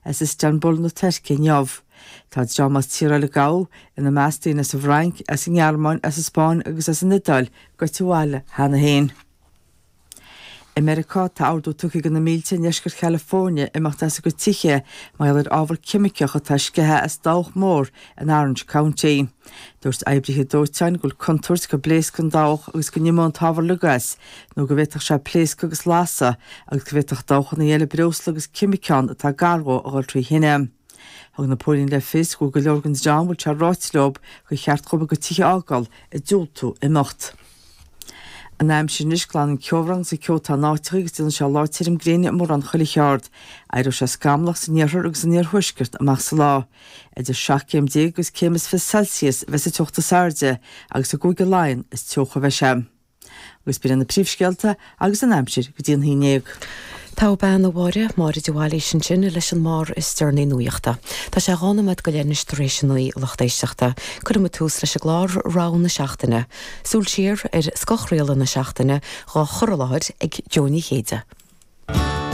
as Istanbul na Tuirce inniu. Tá dream as tíortha eile a gabhadh, ina measc daoine as an bhFrainc, as an nGearmáin, as an Spáinn agus as an Iodáil, goite abhaile cheana féin. I Meiriceá, tá ordú tugtha do na mílte i ndeisceart California imeacht as a gcuid tithe mar gheall ar ábhar ceimiceach atá sceithe as dabhach mór in Orange County. Dúirt oibrithe dóiteáin go bhfuil contúirt go bpléascfaidh an dabhach agus go n-imeoidh an t-ábhar uilig as nó go bhféadfadh sé pléascadh agus lasadh agus go bhféadfadh dabhchanna eile breosla agus ceimiceán atá gar dhó a dhul trí thine. Thug na póilíní le fios go bhfuil go leor den dream a bhfuil sé ráite leo gur cheart dhóibh a gcuid tithe a fhágáil ag diúltú imeacht. An aimsir anois, glanfaidh an ceobhrán agus an ceo atá in áiteacha agus déanfaidh sé lá tirim gréine i mórán chuile cheard. Éireoidh sé scamallach san iarthar agus san iarthuaisceart amach sa lá. Idir 17 céim agus céim is 20 Celsius a bheas an teocht is airde agus i gCúige Laighean is teocha a bheidh sé. Agus b'in iad na príomhscéalta agus an aimsir go dtí an haon ndéag. Togha bean a Mháire, Máire de Bhailís ansin leis an mbarr is deireanaí nuachta. Tá sé 12 nóiméad anois tar éis a 9 a lucht éisteachta. Cuirfidh muid tús leis an gclár Rogha na Seachtaine. Súil siar ar scothchraoladh na seachtaine dhá chur i láthair ag Jó Ní Chéide.